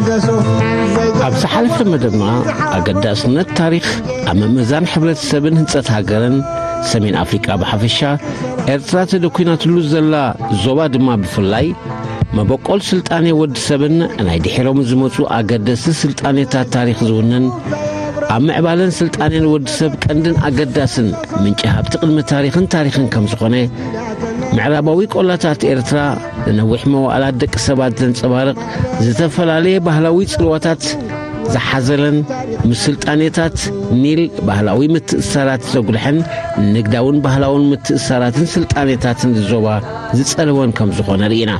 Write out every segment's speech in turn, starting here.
ኣብ ዝሓለፈ መደብና ኣገዳስነት ታሪኽ ኣብ ምምእዛን ሕብረተሰብን ህንጸት ሃገርን ሰሜን ኣፍሪቃ ብሓፈሻ፣ ኤርትራ ተደኲናትሉ ዘላ ዞባ ድማ ብፍላይ፣ መበቆል ስልጣኔ ወዲ ሰብን ናይ ድሒሮም ዝመጹ ኣገደስቲ ስልጣኔታት ታሪኽ ዝውንን፣ ኣብ ምዕባለን ስልጣኔን ወዲ ሰብ ቀንድን ኣገዳስን ምንጪ ሃብቲ ቅድሚ ታሪኽን ታሪኽን ከም ዝኾነ፣ ምዕራባዊ ቆላታት ኤርትራ ንነዊሕ መዋእላት ደቂ ሰባት ዘንጸባርቕ ዝተፈላለየ ባህላዊ ጽልዋታት ዝሓዘለን፣ ምስ ስልጣኔታት ኒል ባህላዊ ምትእስሳራት ዘጉልሐን ንግዳውን ባህላውን ምትእስሳራትን ስልጣኔታትን ዞባ ዝጸለወን ከም ዝኾነ ርኢና።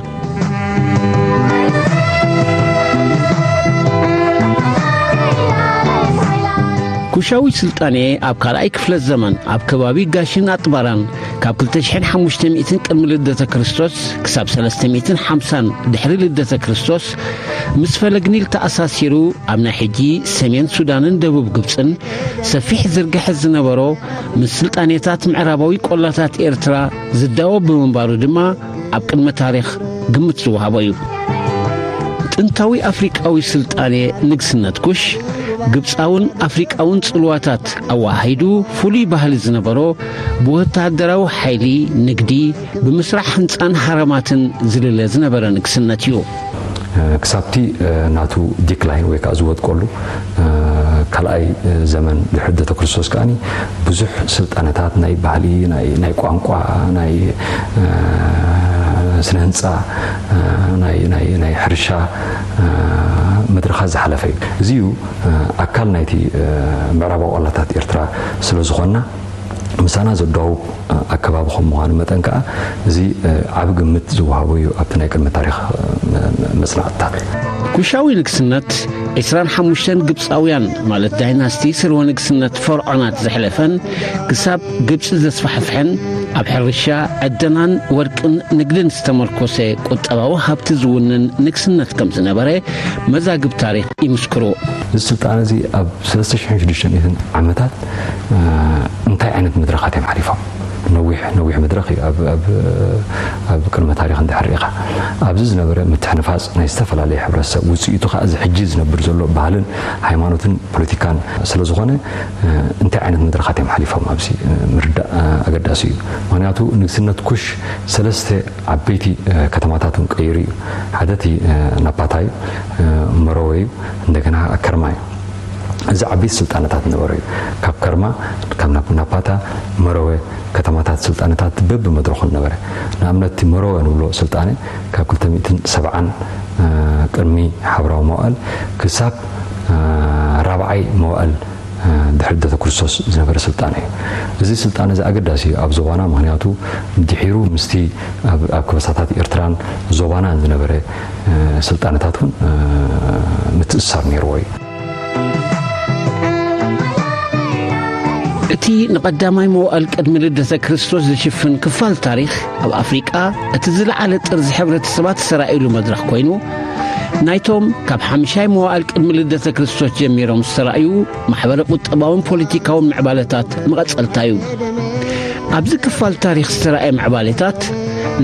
ኩሻዊ ስልጣኔ ኣብ ካልኣይ ክፍለ ዘመን ኣብ ከባቢ ጋሽን ኣጥባራን ካብ ክልተ ሽሕን ሓሙሽተ ሚእትን ቅድሚ ልደተ ክርስቶስ ክሳብ ሰለስተ ሚእትን ሓምሳን ድሕሪ ልደተ ክርስቶስ ምስ ፈለግ ኒል ተኣሳሲሩ ኣብ ናይ ሕጂ ሰሜን ሱዳንን ደቡብ ግብጽን ሰፊሕ ዝርግሐት ዝነበሮ ምስ ስልጣኔታት ምዕራባዊ ቆላታት ኤርትራ ዝዳወብ ብምንባሩ ድማ ኣብ ቅድመ ታሪኽ ግምት ዝወሃቦ እዩ። ጥንታዊ ኣፍሪቃዊ ስልጣኔ ንግስነት ኩሽ ግብጻውን ኣፍሪቃውን ጽልዋታት ኣወሃሂዱ ፍሉይ ባህሊ ዝነበሮ ብወተሃደራዊ ሓይሊ፣ ንግዲ፣ ብምስራሕ ህንጻን ሃረማትን ዝልለ ዝነበረ ንግስነት እዩ። ክሳብቲ ናቱ ዲክላይን ወይ ከዓ ዝወድቀሉ ካልኣይ ዘመን ድሕሪ ልደተ ክርስቶስ ከዓኒ ብዙሕ ስልጣነታት ናይ ባህሊ፣ ናይ ቋንቋ፣ ናይ ስነ ህንፃ፣ ናይ ሕርሻ መድረኻት ዝሓለፈ እዩ። እዚ እዩ ኣካል ናይቲ ምዕራባዊ ቆላታት ኤርትራ ስለ ዝኾንና ምሳና ዘዳውብ ኣከባቢ ከም ምዃኑ መጠን ከኣ እዚ ዓቢ ግምት ዝወሃቦ እዩ ኣብቲ ናይ ቅድሚ ታሪኽ መጽናዕትታት። ኩሻዊ ንግስነት ዒስራን ሓሙሽተን ግብጻውያን ማለት ዳይናስቲ ስርወ ንግስነት ፈርዖናት ዘሕለፈን ክሳብ ግብጺ ዘስፋሕፍሐን ኣብ ሕርሻ፣ ዕደናን ወርቅን ንግድን ዝተመርኮሰ ቁጠባዊ ሃብቲ ዝውንን ንግስነት ከም ዝነበረ መዛግብ ታሪኽ ይምስክሩ። እዚ ስልጣነ እዚ ኣብ ሰለስተ ሽሕን ሽዱሽተ ሚእትን ዓመታት እንታይ ዓይነት መድረኻት እዮም ሓሊፎም? ነዊሕ ነዊሕ መድረኽ እዩ ኣብ ቅድመ ታሪኽ እንድሕር ርኢኻ። ኣብዚ ዝነበረ ምትሕንፋፅ ናይ ዝተፈላለየ ሕብረተሰብ ውፅኢቱ ከዓ እዚ ሕጂ ዝነብር ዘሎ ባህልን ሃይማኖትን ፖለቲካን ስለ ዝኾነ እንታይ ዓይነት መድረኻት እዮም ሓሊፎም ኣብዚ ምርዳእ ኣገዳሲ እዩ። ምክንያቱ ንግስነት ኩሽ ሰለስተ ዓበይቲ ከተማታት እውን ቀይሩ እዩ። ሓደ እቲ ናፓታ እዩ፣ መረወ እዩ፣ እንደገና ከርማ እዩ። እዚ ዓበይቲ ስልጣነታት ነበረ እዩ። ካብ ከርማ፣ ካብ ናፓታ፣ መረወ ከተማታት ስልጣነታት በብመድረኹ ነበረ። ንኣብነት እቲ መረወ ንብሎ ስልጣነ ካብ ክልተ ሚእትን ሰብዓን ቅድሚ ሓብራዊ መዋእል ክሳብ ራብዓይ መዋእል ድሕሪ ልደተ ክርስቶስ ዝነበረ ስልጣነ እዩ። እዚ ስልጣነ እዚ ኣገዳሲ እዩ ኣብ ዞባና፣ ምክንያቱ ድሒሩ ምስቲ ኣብ ከበሳታት ኤርትራን ዞባናን ዝነበረ ስልጣነታት እውን ምትእስሳር ነይርዎ እዩ። እቲ ንቐዳማይ መዋእል ቅድሚ ልደተ ክርስቶስ ዝሽፍን ክፋል ታሪኽ ኣብ ኣፍሪቃ እቲ ዝለዓለ ጥርዚ ሕብረተሰባት ዝተራእየሉ መድረኽ ኮይኑ፣ ናይቶም ካብ ሓምሻይ መዋእል ቅድሚ ልደተ ክርስቶስ ጀሚሮም ዝተራእዩ ማሕበረ ቁጠባውን ፖለቲካውን ምዕባለታት መቐጸልታ እዩ። ኣብዚ ክፋል ታሪኽ ዝተራእየ ምዕባለታት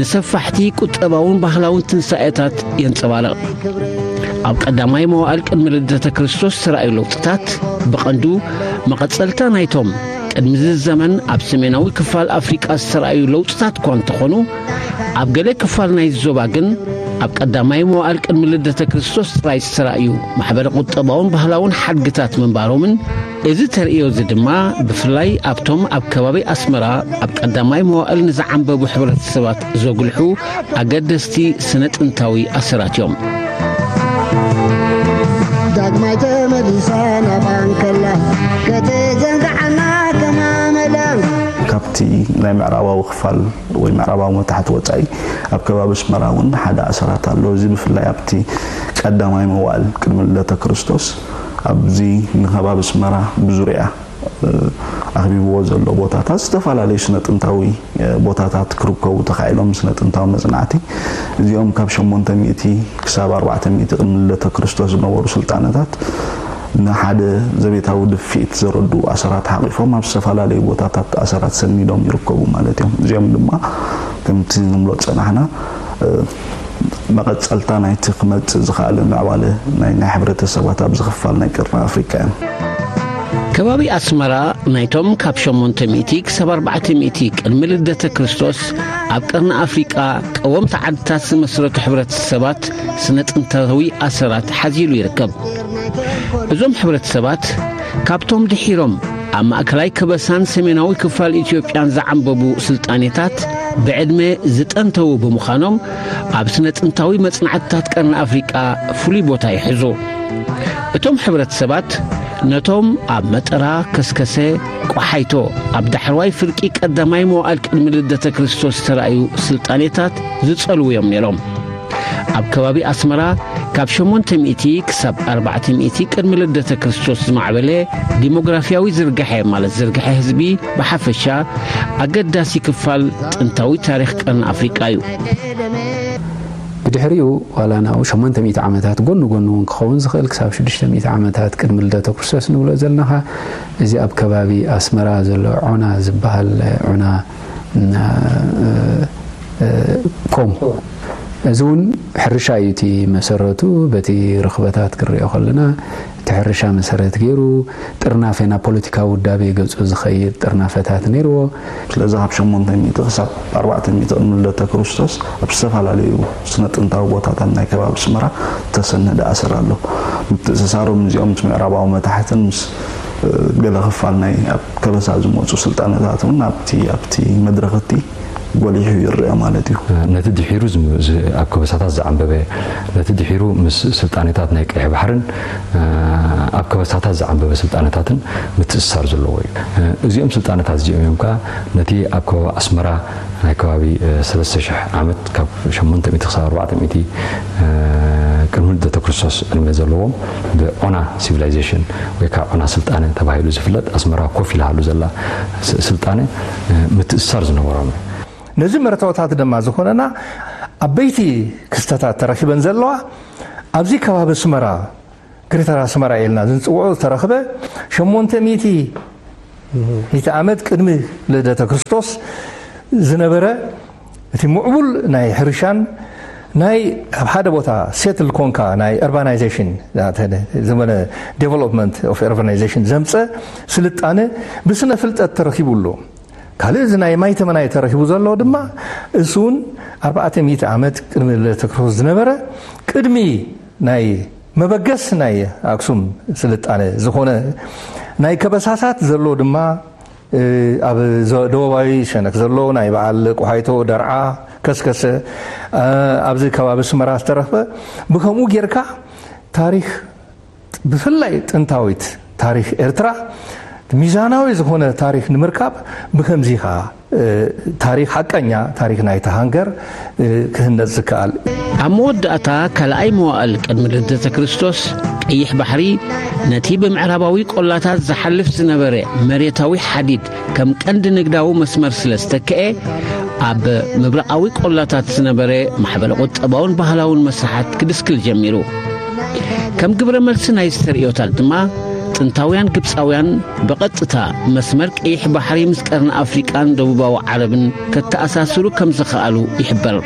ንሰፋሕቲ ቁጠባውን ባህላውን ትንሳኤታት የንጸባርቕ። ኣብ ቀዳማይ መዋእል ቅድሚ ልደተ ክርስቶስ ዝተራእዩ ለውጥታት ብቐንዱ መቐጸልታ ናይቶም ቅድሚ እዚ ዘመን ኣብ ሰሜናዊ ክፋል ኣፍሪቃ ዝተራእዩ ለውጥታት እኳ እንተኾኑ፣ ኣብ ገለ ክፋል ናይዚ ዞባ ግን ኣብ ቀዳማይ መዋእል ቅድሚ ልደተ ክርስቶስ ጥራይ ዝተራእዩ ማሕበረ ቁጠባውን ባህላውን ሓድግታት ምንባሮምን፣ እዚ ተርእዮ እዚ ድማ ብፍላይ ኣብቶም ኣብ ከባቢ ኣስመራ ኣብ ቀዳማይ መዋእል ንዝዓንበቡ ሕብረተሰባት ዘጉልሑ ኣገደስቲ ስነ ጥንታዊ ኣሰራት እዮም። ዳግማይ ተመሊሳ ናባን ከላ ከተዘንግዓና ከማመላ። ካብቲ ናይ ምዕራባዊ ክፋል ወይ ምዕራባዊ መታሕቲ ወጻኢ ኣብ ከባቢ ኣስመራ እውን ሓደ ኣሰራት ኣሎ። እዚ ብፍላይ ኣብቲ ቀዳማይ መዋእል ቅድሚ ልደተ ክርስቶስ ኣብዚ ንከባቢ ኣስመራ ብዙርያ ኣኽቢብዎ ዘሎ ቦታታት ዝተፈላለዩ ስነ ጥንታዊ ቦታታት ክርከቡ ተኻኢሎም። ስነ ጥንታዊ መጽናዕቲ እዚኦም ካብ ሸሞንተ ሚእቲ ክሳብ ኣርባዕተ ሚእቲ ቅድሚ ልደተ ክርስቶስ ዝነበሩ ስልጣነታት ንሓደ ዘቤታዊ ድፍኢት ዘረድኡ ኣሰራት ሓቒፎም ኣብ ዝተፈላለዩ ቦታታት ኣሰራት ሰኒዶም ይርከቡ ማለት እዮም። እዚኦም ድማ ከምቲ ንብሎ ዝጸናሕና መቐጸልታ ናይቲ ክመጽእ ዝኸኣለ ምዕባለ ናይ ናይ ሕብረተሰባት ኣብዚ ክፋል ናይ ቀርኒ ኣፍሪቃ እዮም። ከባቢ ኣስመራ ናይቶም ካብ ሸሞንተ ሚእቲ ክሳብ ኣርባዕተ ሚእቲ ቅድሚ ልደተ ክርስቶስ ኣብ ቀርኒ ኣፍሪቃ ቀወምቲ ዓድታት ዝመስረቱ ሕብረተሰባት ስነ ጥንታዊ ኣሰራት ሓዚሉ ይርከብ። እዞም ሕብረተሰባት ካብቶም ድሒሮም ኣብ ማእከላይ ከበሳን ሰሜናዊ ክፋል ኢትዮጵያን ዝዓንበቡ ስልጣኔታት ብዕድመ ዝጠንተዉ ብምዃኖም ኣብ ስነ ጥንታዊ መጽናዕትታት ቀርኒ ኣፍሪቃ ፍሉይ ቦታ ይሕዙ። እቶም ሕብረተሰባት ነቶም ኣብ መጠራ፣ ከስከሰ፣ ቆሓይቶ ኣብ ዳሕረዋይ ፍርቂ ቀዳማይ መዋእል ቅድሚ ልደተ ክርስቶስ ዝተራእዩ ስልጣኔታት ዝጸልዉ እዮም ነይሮም። ኣብ ከባቢ ኣስመራ ካብ ሸሞንተ ሚእቲ ክሳብ ኣርባዕተ ሚእቲ ቅድሚ ልደተ ክርስቶስ ዝማዕበለ ዲሞግራፊያዊ ዝርግሐ ማለት ዝርግሐ ህዝቢ ብሓፈሻ ኣገዳሲ ክፋል ጥንታዊ ታሪኽ ቀርኒ ኣፍሪቃ እዩ። ብድሕሪኡ ዋላ ናብኡ ሸሞንተ ሚእቲ ዓመታት ጎኒ ጎኒ እውን ክኸውን ዝኽእል ክሳብ ሽዱሽተ ሚእቲ ዓመታት ቅድሚ ልደተ ክርስቶስ ንብሎ ዘለናኻ እዚ ኣብ ከባቢ ኣስመራ ዘሎ ዖና ዝበሃል ዖና ኮም እዚ እውን ሕርሻ እዩ እቲ መሰረቱ። በቲ ርኽበታት ክሪኦ ከለና እቲ ሕርሻ መሰረት ገይሩ ጥርናፈ ናብ ፖለቲካዊ ውዳቤ ገፁ ዝኸይድ ጥርናፈታት ነይርዎ። ስለዚ ካብ ሸሞንተ ሚእቲ ክሳብ ኣርባዕተ ሚእቲ ቅድሚ ልደተ ክርስቶስ ኣብ ዝተፈላለዩ ስነ ጥንታዊ ቦታታት ናይ ከባቢ ኣስመራ ዝተሰነደ ኣሰር ኣሎ። ምትእስሳሮም እዚኦም ምስ ምዕራባዊ መታሕትን ምስ ገለ ክፋል ናይ ኣብ ከበሳ ዝመፁ ስልጣነታት እውን ኣብቲ ኣብቲ መድረኽ እቲ ጎሊሑ ይረአ ማለት እዩ። ነቲ ድሒሩ ኣብ ከበሳታት ዝዓንበበ፣ ነቲ ድሒሩ ምስ ስልጣኔታት ናይ ቀይሕ ባሕርን ኣብ ከበሳታት ዝዓንበበ ስልጣነታትን ምትእስሳር ዘለዎ እዩ። እዚኦም ስልጣነታት እዚኦም እዮም ከኣ ነቲ ኣብ ከባቢ ኣስመራ ናይ ከባቢ ሰለስተ ሽሕ ዓመት ካብ ሸሞንተ ሚእቲ ክሳብ ኣርባዕተ ሚእቲ ቅድሚ ልደተ ክርስቶስ ዕድመ ዘለዎም ብዖና ሲቪላይዜሽን ወይ ከዓ ዖና ስልጣነ ተባሂሉ ዝፍለጥ ኣስመራ ኮፍ ኢላሃሉ ዘላ ስልጣነ ምትእስሳር ዝነበሮም እዩ። ነዚ መርተዖታት ድማ ዝኾነና ዓበይቲ ክስተታት ተረኪበን ዘለዋ ኣብዚ ከባቢ ኣስመራ ግሪተር ኣስመራ ኢልና ዝንፅውዖ ዝተረኽበ ሸሞንተ ሚእቲ ሚእቲ ዓመት ቅድሚ ልደተ ክርስቶስ ዝነበረ እቲ ምዕቡል ናይ ሕርሻን ናይ ኣብ ሓደ ቦታ ሴትል ኮንካ ናይ urbanization ዘመነ development of urbanization ዘምፀ ስልጣነ ብስነ ፍልጠት ተረኪቡ ኣሎ። ካልእ እዚ ናይ ማይ ተመናይ ተረኪቡ ዘሎ ድማ እሱ እውን ኣርባዕተ ሚእቲ ዓመት ቅድሚ ልደተ ክርስቶስ ዝነበረ ቅድሚ ናይ መበገስ ናይ ኣክሱም ስልጣነ ዝኾነ ናይ ከበሳታት ዘሎ ድማ ኣብ ደቡባዊ ሸነክ ዘሎ ናይ በዓል ቆሓይቶ ደርዓ ከስከሰ ኣብዚ ከባቢ ኣስመራ ዝተረኽበ ብከምኡ ጌርካ ታሪኽ ብፍላይ ጥንታዊት ታሪኽ ኤርትራ ሚዛናዊ ዝኾነ ታሪኽ ንምርካብ ብከምዚ ኢኻ ታሪኽ ሓቀኛ ታሪኽ ናይታ ሃንገር ክህነጽ ዝከኣል። ኣብ መወዳእታ ካልኣይ መዋእል ቅድሚ ልደተ ክርስቶስ ቀይሕ ባሕሪ ነቲ ብምዕራባዊ ቆላታት ዝሓልፍ ዝነበረ መሬታዊ ሓዲድ ከም ቀንዲ ንግዳዊ መስመር ስለ ዝተክአ ኣብ ምብራቓዊ ቆላታት ዝነበረ ማሕበረ ቁጠባውን ባህላውን መስርሓት ክድስክል ጀሚሩ። ከም ግብረ መልሲ ናይዚ ተርእዮታት ድማ ጥንታውያን ግብፃውያን ብቐጥታ መስመር ቀይሕ ባሕሪ ምስ ቀርኒ ኣፍሪቃን ደቡባዊ ዓረብን ከተኣሳስሩ ከም ዝኸኣሉ ይሕበር።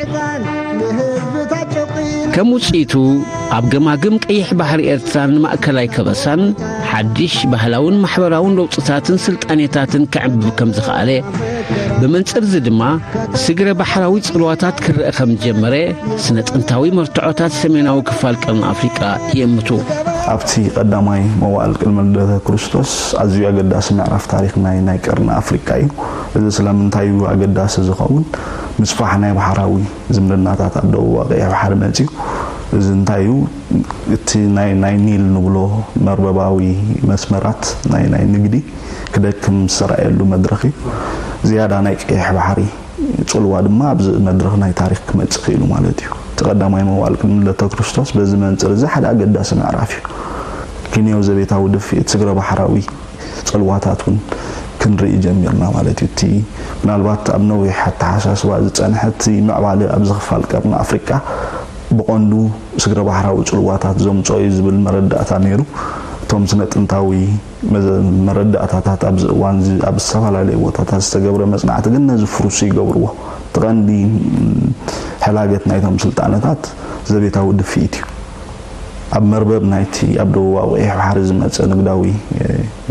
ከም ውፅኢቱ ኣብ ገማግም ቀይሕ ባሕሪ ኤርትራን ማእከላይ ከበሳን ሓድሽ ባህላውን ማሕበራውን ለውጥታትን ስልጣኔታትን ክዕብብ ከም ዝኸኣለ ብመንፅር እዚ ድማ ስግረ ባሕራዊ ጽልዋታት ክረአ ከም ዝጀመረ ስነ ጥንታዊ መርትዖታት ሰሜናዊ ክፋል ቀርኒ ኣፍሪቃ ይእምቱ። ኣብቲ ቀዳማይ መዋእል ቅድሚ ልደተ ክርስቶስ ኣዝዩ ኣገዳሲ ምዕራፍ ታሪኽ ናይ ናይ ቀርኒ ኣፍሪቃ እዩ። እዚ ስለምንታይ እዩ ኣገዳሲ ዝኸውን? ምስፋሕ ናይ ባሕራዊ ዝምድናታት ኣብ ደቡብ ቀይሕ ባሕሪ መጺኡ። እዚ እንታይ እዩ? እቲ ናይ ናይ ኒል ንብሎ መርበባዊ መስመራት ናይ ናይ ንግዲ ክደክም ዝተራእየሉ መድረኽ እዩ። ዝያዳ ናይ ቀይሕ ባሕሪ ጽልዋ ድማ ኣብዚ መድረኽ ናይ ታሪኽ ክመጽእ ክኢሉ ማለት እዩ። እቲ ቀዳማይ መዋእል ቅድሚ ልደተ ክርስቶስ በዚ መንጽር እዚ ሓደ ኣገዳሲ ምዕራፍ እዩ። ክንዮ ዘቤታዊ ድፍኢት ስግረ ባሕራዊ ጽልዋታት እውን ክንርኢ ጀሚርና ማለት እዩ። እቲ ምናልባት ኣብ ነዊሕ ኣተሓሳስባ ዝጸንሐ እቲ ምዕባለ ኣብዚ ክፋል ቀርኒ ኣፍሪቃ ብቐንዱ ስግረ ባሕራዊ ጽልዋታት ዘምጽኦ እዩ ዝብል መረዳእታ ነይሩ። እቶም ስነ ጥንታዊ መዘ- መረዳእታታት ኣብዚ እዋን እዚ ኣብ ዝተፈላለዩ ቦታታት ዝተገብረ መጽናዕቲ ግን ነዚ ፍሩስ ይገብርዎ። እቲ ቀንዲ ሕላገት ናይቶም ስልጣነታት ዘቤታዊ ድፍኢት እዩ። ኣብ መርበብ ናይቲ ኣብ ደቡባዊ ቀይሕ ባሕሪ ዝመጸ ንግዳዊ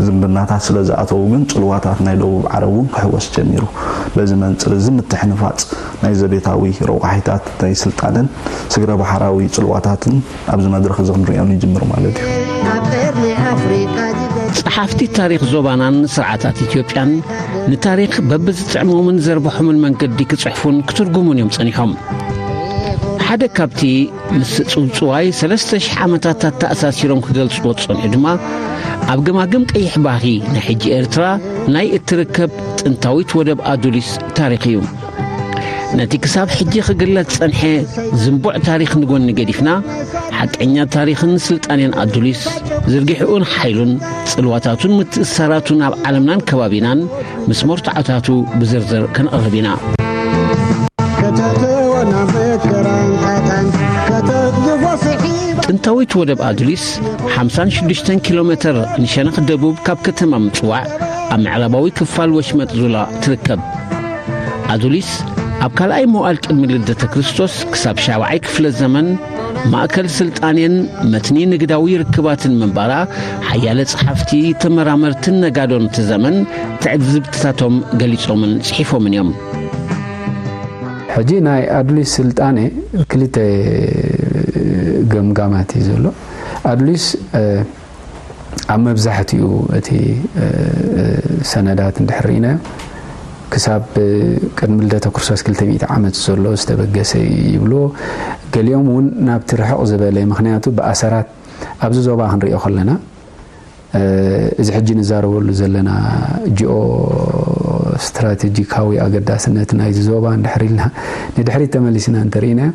ዝምድናታት ስለ ዝኣተዉ ግን ጽልዋታት ናይ ደቡብ ዓረብ እውን ክሕወስ ጀሚሩ። በዚ መንጽር እዚ ምትሕንፋጽ ናይ ዘቤታዊ ረቋሒታት ናይ ስልጣነን ስግረ ባሕራዊ ጽልዋታትን ኣብዚ መድረኽ እዚ ክንሪኦ ንጅምር ማለት እዩ። ጸሓፍቲ ታሪኽ ዞባናን ስርዓታት ኢትዮጵያን ንታሪኽ በብዝጥዕሞምን ዘርብሖምን መንገዲ ክጽሕፉን ክትርጉሙን እዮም ጸኒሖም። ሓደ ካብቲ ምስ ጽውጽዋይ ሰለስተ ሽሕ ዓመታት ኣተኣሳሲሮም ክገልጽዎ ዝጸንሑ ድማ ኣብ ገማግም ቀይሕ ባሕሪ ናይ ሕጂ ኤርትራ ናይ እትርከብ ጥንታዊት ወደብ ኣዱሊስ ታሪኽ እዩ። ነቲ ክሳብ ሕጂ ክግለጽ ዝጸንሐ ዝንቡዕ ታሪኽ ንጎኒ ገዲፍና ሓቀኛ ታሪኽን ስልጣኔን ኣዱሊስ ዝርጊሕኡን ሓይሉን ጽልዋታቱን ምትእስሳራቱን ኣብ ዓለምናን ከባቢናን ምስ መርትዖታቱ ብዝርዝር ከነቕርብ ኢና። ጥንታዊት ወደብ ኣዱሊስ ሓምሳን ሽዱሽተን ኪሎ ሜተር ንሸነኽ ደቡብ ካብ ከተማ ምጽዋዕ ኣብ ምዕራባዊ ክፋል ወሽመጥ ዙላ ትርከብ። ኣዱሊስ ኣብ ካልኣይ መዋእል ቅድሚ ልደተ ክርስቶስ ክሳብ ሻብዓይ ክፍለ ዘመን ማእከል ስልጣኔን መትኒ ንግዳዊ ርክባትን ምንባራ ሓያለ ጸሓፍቲ፣ ተመራመርትን ነጋዶን እቲ ዘመን ትዕዝብትታቶም ገሊጾምን ጽሒፎምን እዮም። ሕጂ ናይ ኣዱሊስ ስልጣኔ ክልተ ገምጋማት እዩ ዘሎ። ኣዱሊስ ኣብ መብዛሕትኡ እቲ ሰነዳት እንድሕር ርኢናዮ ክሳብ ቅድሚ ልደተ ክርስቶስ ክልተ ሚእቲ ዓመት ዘሎ ዝተበገሰ እዩ ይብልዎ። ገሊኦም እውን ናብቲ ርሕቕ ዝበለ፣ ምኽንያቱ ብኣሰራት ኣብዚ ዞባ ክንሪኦ ከለና እዚ ሕጂ ንዛረበሉ ዘለና ጂኦ ስትራቴጂካዊ ኣገዳስነት ናይዚ ዞባ እንድሕር ኢልና ንድሕሪት ተመሊስና እንተርኢናዮ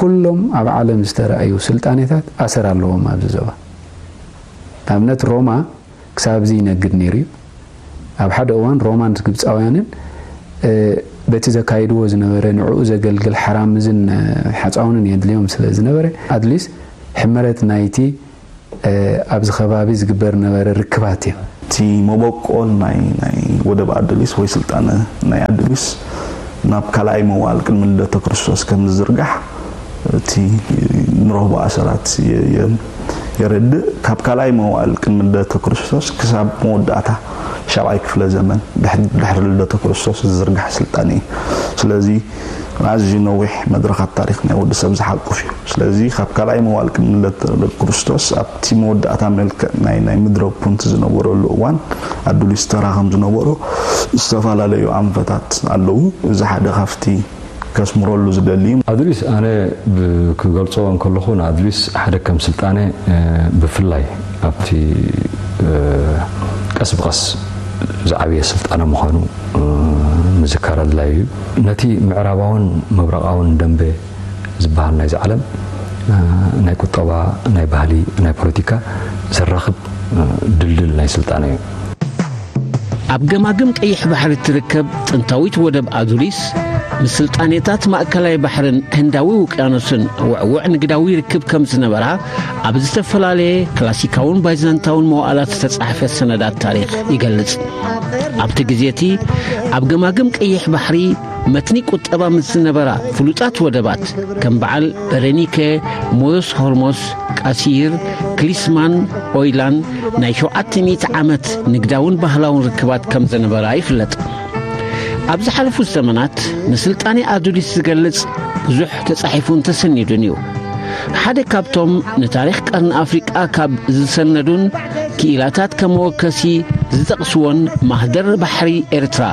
ኩሎም ኣብ ዓለም ዝተረኣዩ ስልጣኔታት ኣሰር ኣለዎም ኣብዚ ዞባ። ንኣብነት ሮማ ክሳብ እዚ ይነግድ ነይሩ እዩ። ኣብ ሓደ እዋን ሮማን ግብፃውያንን በቲ ዘካይድዎ ዝነበረ ንዕኡ ዘገልግል ሓራምዝን ሓፃውንን የድልዮም ስለ ዝነበረ ኣድሊስ ሕመረት ናይቲ ኣብዚ ከባቢ ዝግበር ነበረ ርክባት እዮም። እቲ መበቆል ናይ ናይ ወደብ ኣድሊስ ወይ ስልጣነ ናይ ኣድሊስ ናብ ካልኣይ መዋል ቅድሚ ልደተ ክርስቶስ ከም ዝዝርጋሕ እቲ ንረኽቦ ኣሰራት የረድእ። ካብ ካልኣይ መዋል ቅድሚ ልደተ ክርስቶስ ክሳብ መወዳእታ ሻብዓይ ክፍለ ዘመን ድሕሪ ልደተ ክርስቶስ ዝዝርጋሕ ስልጣነ እዩ። ስለዚ ኣዝዩ ነዊሕ መድረኻት ታሪኽ ናይ ወዲ ሰብ ዝሓቁፍ እዩ። ስለዚ ካብ ካልኣይ መዋል ቅድሚ ልደተ ክርስቶስ ኣብቲ መወዳእታ መልክዕ ናይ ናይ ምድረ ፑንት ዝነበረሉ እዋን ኣዱሊስ ተራ ከም ዝነበሮ ዝተፈላለዩ ኣንፈታት ኣለዉ። እዚ ሓደ ካብቲ ከስምረሉ ዝደሊ እዩ። ኣድሪስ ኣነ ክገልጾ እንከለኹ ንኣድሪስ ሓደ ከም ስልጣነ ብፍላይ ኣብቲ ቀስ ብቐስ ዝዓበየ ስልጣነ ምዃኑ ምዝካር ኣድላዩ እዩ። ነቲ ምዕራባውን ምብራቓውን ደንበ ዝበሃል ናይዚ ዓለም ናይ ቁጠባ፣ ናይ ባህሊ፣ ናይ ፖለቲካ ዘራኽብ ድልድል ናይ ስልጣነ እዩ። ኣብ ገማግም ቀይሕ ባሕሪ እትርከብ ጥንታዊት ወደብ ኣዱሊስ ምስ ስልጣኔታት ማእከላይ ባሕርን ህንዳዊ ውቅያኖስን ውዕውዕ ንግዳዊ ርክብ ከም ዝነበራ ኣብ ዝተፈላለየ ክላሲካውን ባይዛንታውን መዋእላት ዝተጻሕፈ ሰነዳት ታሪኽ ይገልጽ። ኣብቲ ግዜ እቲ ኣብ ገማግም ቀይሕ ባሕሪ መትኒ ቁጠባ ምስ ዝነበራ ፍሉጣት ወደባት ከም በዓል በረኒከ፣ ሞዮስ ሆርሞስ፣ ቃሲር፣ ክሊስማን ኦይላን ናይ ሸውዓተ ሚእቲ ዓመት ንግዳውን ባህላውን ርክባት ከም ዝነበራ ይፍለጥ። ኣብ ዝሓለፉ ዘመናት ንስልጣኔ ኣዱሊስ ዝገልጽ ብዙሕ ተጻሒፉን ተሰኒዱን እዩ። ሓደ ካብቶም ንታሪኽ ቀርኒ ኣፍሪቃ ካብ ዝሰነዱን ክኢላታት ከም መወከሲ ዝጠቕስዎን ማህደር ባሕሪ ኤርትራ፣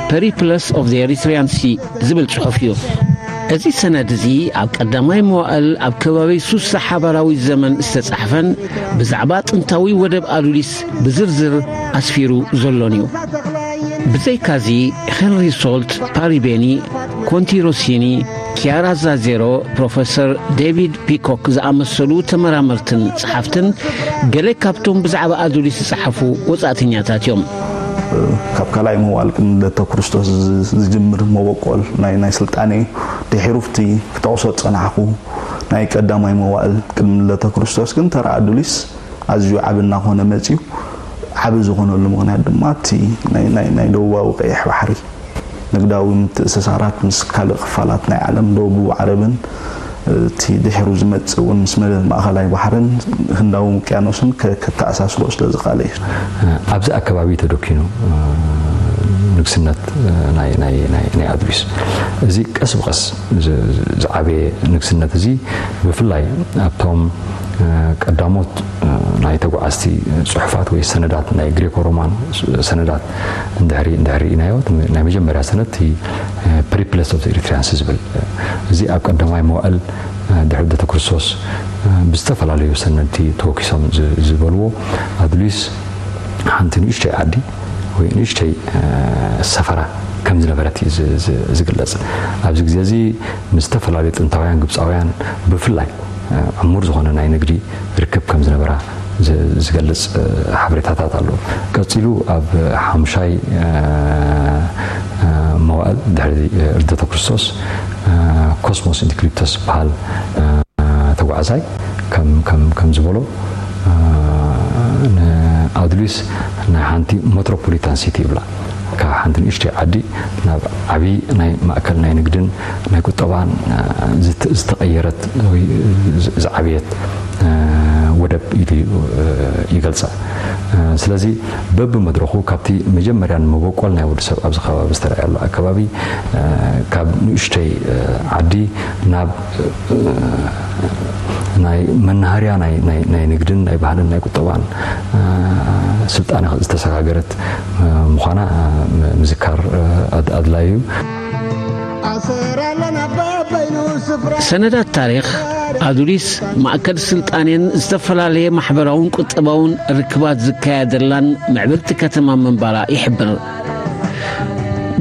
Periplus of the Erythraean Sea ዝብል ጽሑፍ እዩ። እዚ ሰነድ እዚ ኣብ ቀዳማይ መዋእል ኣብ ከባቢ ሱሳ ሓባራዊ ዘመን ዝተጻሕፈን ብዛዕባ ጥንታዊ ወደብ ኣዱሊስ ብዝርዝር ኣስፊሩ ዘሎን እዩ። ብዘይካዚ ሄንሪ ሶልት፣ ፓሪ ቤኒ፣ ኮንቲ ሮሲኒ፣ ኪያራ ዛዜሮ፣ ፕሮፈሰር ዴቪድ ፒኮክ ዝኣመሰሉ ተመራመርትን ጸሓፍትን ገለ ካብቶም ብዛዕባ ኣዱሊስ ዝጸሓፉ ወጻእተኛታት እዮም። ካብ ካልኣይ መዋእል ቅድሚ ልደተ ክርስቶስ ዝጅምር መበቆል ናይ ናይ ስልጣኔ ድሒሩ ኣብቲ ክጠቕሶ ዝጸናሕኩ ናይ ቀዳማይ መዋእል ቅድሚ ልደተ ክርስቶስ ግን ተራ ኣዱሊስ ኣዝዩ ዓቢ እናኾነ መጺኡ። ዓቢ ዝኾነሉ ምኽንያት ድማ እቲ ናይ ናይ ናይ ደቡባዊ ቀይሕ ባሕሪ ንግዳዊ ምትእስሳራት ምስ ካልእ ክፋላት ናይ ዓለም፣ ደቡብ ዓረብን እቲ ድሒሩ ዝመጽእ እውን ምስ መደብ ማእኸላይ ባሕርን ህንዳዊ ውቅያኖስን ከ-፣ ከተኣሳስሮ ስለ ዝኸኣለ እዩ። ኣብዚ ኣከባቢ ተደኪኑ፣ እ፣ ንግስነት፣ እ፣ ናይ፣ ናይ፣ ናይ፣ ናይ ኣዱሊስ። እዚ ቀስ ብቐስ ዝ-፣ ዝ-፣ ዝዓበየ ንግስነት እዚ ብፍላይ ኣብቶም፣ እ፣ ቀዳሞት፣ እ፣ ናይ ተጓዓዝቲ ጽሑፋት ወይ ሰነዳት፣ ናይ ግሪኮ ሮማን ሰነዳት እንድሕሪ፣ እንድሕሪ ርኢናዮ፣ እቲ ናይ መጀመርያ ሰነድ እቲ፣ እ፣ ፐሪፕለስ ኦፍ ኤሪትሪያንስ ዝብል፣ እ፣ እዚ ኣብ ቀዳማይ መዋእል፣ እ፣ ድሕሪ ልደተ ክርስቶስ፣ እ፣ ብዝተፈላለዩ ሰነድቲ ተወኪሶም ዝ-፣ ዝበልዎ ኣድሊስ ሓንቲ ንእሽተይ ዓዲ ወይ ንእሽተይ፣ እ፣ ሰፈራ ከም ዝነበረት እዩ ዝ-፣ ዝ-፣ ዝግለጽ። ኣብዚ ግዜ እዚ ምስ ዝተፈላለዩ ጥንታውያን ግብጻውያን ብፍላይ፣ እ፣ ዕሙር ዝኾነ ናይ ንግዲ ርክብ ከም ዝነበራ ዝ-፣ ዝገልጽ፣ እ፣ ሓበሬታታት ኣሎ። ቀጺሉ ኣብ ሓሙሻይ፣ እ፣ እ፣ መዋእል ድሕሪ፣ እ፣ ልደተ ክርስቶስ፣ እ፣ ኮስሞስ ኢንዲክሊፕተስ ዝበሃል፣ እ፣ ተጓዓዛይ ከም፣ ከም፣ ከም ዝበሎ፣ እ፣ ንኣዱሊስ ናይ ሓንቲ ሜትሮፖሊታን ሲቲ ይብላ። ካብ ሓንቲ ንእሽተይ ዓዲ ናብ ዓቢ ናይ ማእከል ናይ ንግድን ናይ ቁጠባን፣ እ፣ ዝት-፣ ዝተቐየረት ወይ ዝ-፣ ዝዓበየት፣ እ፣ ወደብ ኢሉ እዩ፣ እ፣ ይገልጻ። እ፣ ስለዚ በብመድረኹ ካብቲ መጀመርያ ንመበቆል ናይ ወዲ ሰብ ኣብዚ ከባቢ ዝተረኣየሉ ኣከባቢ፣ እ፣ ካብ ንእሽተይ፣ እ፣ ዓዲ ናብ፣ እ፣ ናይ መናሃርያ ናይ፣ ናይ፣ ናይ ንግድን ናይ ባህልን ናይ ቁጠባን፣ እ፣ ስልጣነ ዝተሰጋገረት፣ እ፣ ምዃና፣ እ፣ ም-፣ ምዝካር፣ እ፣ ኣድ-፣ ኣድላዩ እዩ። ሰነዳት ታሪኽ ኣዱሊስ ማእከል ስልጣኔን ዝተፈላለየ ማሕበራውን ቁጠባውን ርክባት ዝካየደላን ምዕብልቲ ከተማ ምንባራ ይሕብር።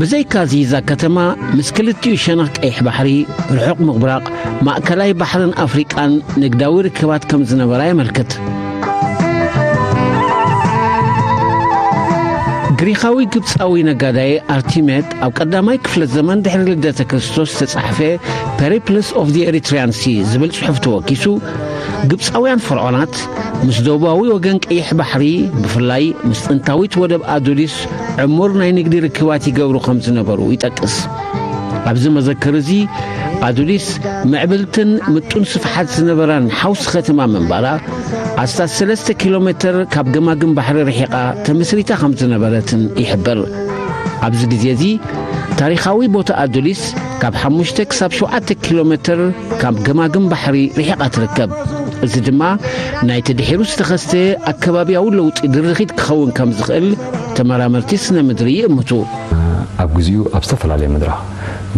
ብዘይካዚ እዛ ከተማ ምስ ክልቲኡ ሸነኽ ቀይሕ ባሕሪ፣ ርሑቕ ምብራቕ፣ ማእከላይ ባሕርን ኣፍሪቃን ንግዳዊ ርክባት ከም ዝነበራ የመልክት። ግሪኻዊ ግብጻዊ ነጋዳይ ኣርቲሜድ ኣብ ቀዳማይ ክፍለ ዘመን ድሕሪ ልደተ ክርስቶስ ዝተጻሕፈ ፐሪፕልስ ኦፍ the ኤሪትሪያን ሲ ዝብል ጽሑፍ ተወኪሱ፣ ግብጻውያን ፈርዖናት ምስ ደቡባዊ ወገን ቀይሕ ባሕሪ፣ ብፍላይ ምስ ጥንታዊት ወደብ ኣዱሊስ ዕሙር ናይ ንግዲ ርክባት ይገብሩ ከም ዝነበሩ ይጠቅስ። ኣብዚ መዘክር እዚ ኣዱሊስ ምዕብልትን ምጡን ስፍሓት ዝነበራን ሓውሲ ከተማ ምንባራ ኣስታት ሰለስተ ኪሎ ሜተር ካብ ገማግም ባሕሪ ርሒቓ ተመስሪታ ከም ዝነበረትን ይሕብር። ኣብዚ ግዜ እዚ ታሪኻዊ ቦታ ኣዱሊስ ካብ ሓሙሽተ ክሳብ ሸውዓተ ኪሎ ሜተር ካብ ገማግም ባሕሪ ርሒቓ ትርከብ። እዚ ድማ ናይቲ ድሒሩ ዝተኸስተ ኣከባብያዊ ለውጢ ድርኺት ክኸውን ከም ዝኽእል ተመራመርቲ ስነ ምድሪ ይእምቱ። ኣብ ግዜኡ ኣብ ዝተፈላለየ መድረኽ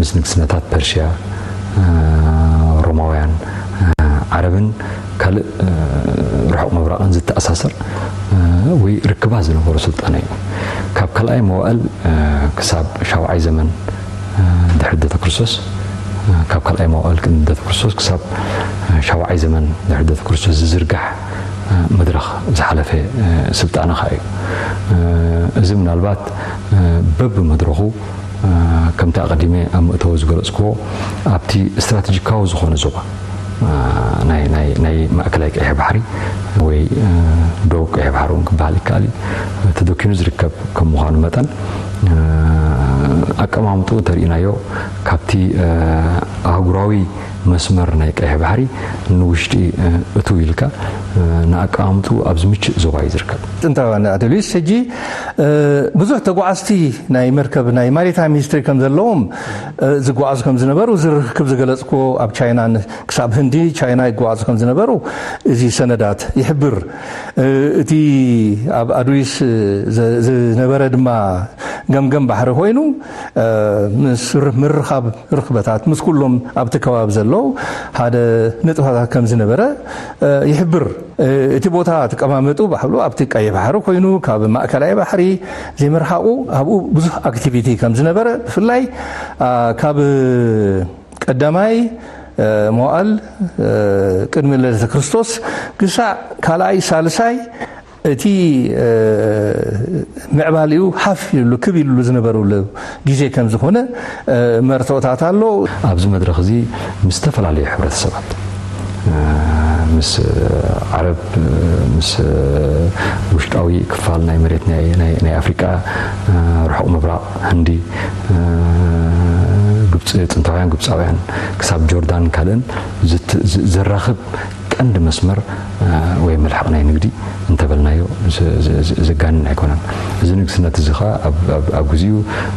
ምስ ንግስነታት ፐርሽያ፣ ሮማውያን፣ ዓረብን ካልእ ርሑቕ ምብራቕን ዝተኣሳሰር ወይ ርክባት ዝነበሮ ስልጣነ እዩ። ካብ ካልኣይ መዋእል ክሳብ ሻውዓይ ዘመን ድሕሪ ልደተ ክርስቶስ፣ ካብ ካልኣይ መዋእል ቅድሚ ልደተ ክርስቶስ ክሳብ ሻውዓይ ዘመን ድሕሪ ልደተ ክርስቶስ ዝዝርጋሕ መድረኽ ዝሓለፈ ስልጣነ ኸኣ እዩ። እዚ ምናልባት በብመድረኹ ከምቲ ኣቐዲመ ኣብ መእተዊ ዝገለጽክዎ ኣብቲ ስትራተጂካዊ ዝኾነ ዞባ ናይ፣ ናይ፣ ናይ ማእከላይ ቀይሕ ባሕሪ ወይ ዶብ ቀይሕ ባሕሪ እውን ክበሃል ይከኣል እዩ፣ ተደኪኑ ዝርከብ ከም ምዃኑ መጠን ኣቀማምጥኡ እንተርኢናዮ ካብቲ ኣህጉራዊ መስመር ናይ ቀይሕ ባሕሪ ንውሽጢ እትው ኢልካ ንኣቀማምጥኡ ኣብ ዝምችእ ዞባ እዩ ዝርከብ። ጥንታውያን ኣደሊስ ሕጂ ብዙሕ ተጓዓዝቲ ናይ መርከብ ናይ ማሪታይም ሂስትሪ ከም ዘለዎም ዝጓዓዙ ከም ዝነበሩ እዚ ርክብ ዝገለጽክዎ ኣብ ቻይና ክሳብ ህንዲ ቻይና ይጓዓዙ ከም ዝነበሩ እዚ ሰነዳት ይሕብር። እቲ ኣብ ኣዱሊስ ዝነበረ ድማ ገምገም ባሕሪ ኮይኑ ምስ ምርኻብ ርኽበታት ምስ ኩሎም ኣብቲ ከባቢ ዘለዉ ሓደ ንጥፈታት ከም ዝነበረ ይሕብር። እቲ ቦታ ኣቀማመጡ ባሕሉ ኣብቲ ቀይሕ ባሕሪ ኮይኑ ካብ ማእከላይ ባሕሪ ዘይምርሓቑ ኣብኡ ብዙሕ ኣክቲቪቲ ከም ዝነበረ ብፍላይ ካብ ቀዳማይ መዋእል ቅድሚ ልደተ ክርስቶስ ክሳዕ ካልኣይ ሳልሳይ እቲ ምዕባሊኡ ሓፍ ኢሉ ክብ ኢሉ ዝነበረሉ ግዜ ከም ዝኾነ መርትኦታት ኣሎ። ኣብዚ መድረኽ እዚ ምስ ዝተፈላለዩ ሕብረተሰባት ምስ ዓረብ፣ ምስ ውሽጣዊ ክፋል ናይ መሬት ናይ ኣፍሪቃ፣ ርሑቕ ምብራቕ፣ ህንዲ፣ ግብፂ፣ ጥንታውያን ግብፃውያን ክሳብ ጆርዳን ካልእን ዘራኽብ ቀንዲ መስመር ወይ መልሕቕ ናይ ንግዲ እንተበልናዮ ዘጋንን ኣይኮነን። እዚ ንግስነት እዚ ኸዓ ኣብ ግዜኡ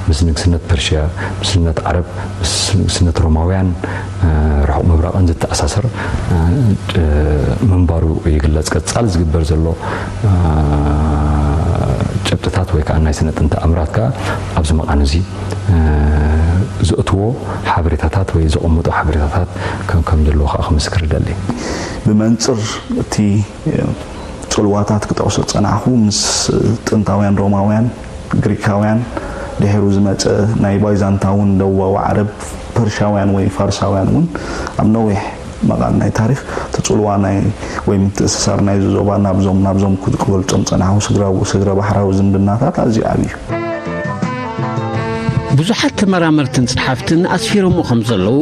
ምስ ንግስነት ፐርሽያ፣ ምስ ንግስነት ዓረብ፣ ምስ ንግስነት ሮማውያን፣ ርሑቕ ምብራቕን ዝተኣሳሰር ምንባሩ ይግለጽ። ቀጻሊ ዝግበር ዘሎ ጭብጥታት ወይ ከዓ ናይ ስነ ጥንቲ ኣምራት ከዓ ኣብዚ መቓን እዚ ዘእትዎ ሓበሬታታት ወይ ዘቐምጦ ሓበሬታታት ከም ዘለዉ ከዓ ክምስክር ይደሊ። ብመንፅር እቲ ፅልዋታት ክጠቕሶ ዝፀናሕኩ ምስ ጥንታውያን ሮማውያን፣ ግሪካውያን፣ ድሒሩ ዝመፀ ናይ ባይዛንታውን ደቡባዊ ዓረብ ፐርሻውያን ወይ ፋርሳውያን እውን ኣብ ነዊሕ መቓን ናይ ታሪኽ እቲ ፅልዋ ናይ ወይ ምትእስሳር ናይዚ ዞባ ናብዞም ናብዞም ክገልፆም ፀናሕኩ ስግረ ባሕራዊ ዝምድናታት ኣዝዩ ዓብዩ እዩ። ብዙሓት ተመራመርትን ጸሓፍትን ኣስፊሮምዎ ከም ዘለዉ፣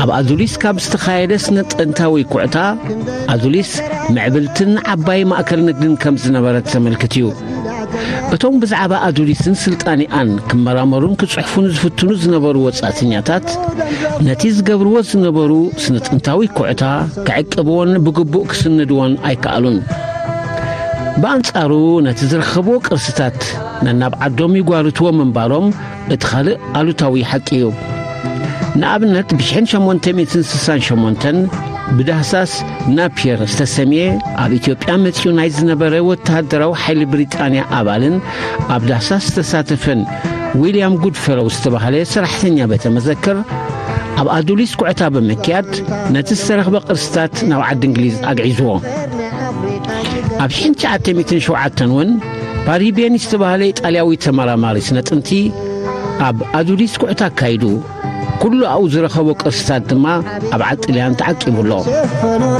ኣብ ኣዱሊስ ካብ ዝተኻየደ ስነ ጥንታዊ ኩዕታ፣ ኣዱሊስ ምዕብልትን ዓባይ ማእከል ንግድን ከም ዝነበረት ዘመልክት እዩ። እቶም ብዛዕባ ኣዱሊስን ስልጣኔኣን ክመራመሩን ክጽሕፉን ዝፍትኑ ዝነበሩ ወጻእተኛታት፣ ነቲ ዝገብርዎ ዝነበሩ ስነ ጥንታዊ ኩዕታ ክዕቅብዎን ብግቡእ ክስንድዎን ኣይከኣሉን። ብኣንጻሩ ነቲ ዝረኸብዎ ቅርስታት ነናብ ዓዶም ይጓርትዎ ምንባሮም እቲ ካልእ ኣሉታዊ ሓቂ እዩ። ንኣብነት ብ1868 ብዳህሳስ ናፒየር ዝተሰምየ ኣብ ኢትዮጵያ መጺኡ ናይ ዝነበረ ወተሃደራዊ ሓይሊ ብሪጣንያ ኣባልን ኣብ ዳህሳስ ዝተሳተፈን ዊልያም ጉድፈሎው ዝተባህለ ሰራሕተኛ ቤተ መዘክር ኣብ ኣዱሊስ ኩዕታ ብምክያድ ነቲ ዝተረኽበ ቅርስታት ናብ ዓዲ እንግሊዝ ኣግዒዝዎ። ኣብ ሽሕን ትሽዓተ ሚእትን ሸውዓተን እውን ፓሪቤኒ ዝተባህለ ኢጣልያዊ ተመራማሪ ስነ ጥንቲ ኣብ ኣዱሊስ ኩዕታ ኣካይዱ። ኩሉ ኣብኡ ዝረኸቦ ቅርስታት ድማ ኣብ ዓዲ ጥልያን ተዓቂቡ ኣሎ።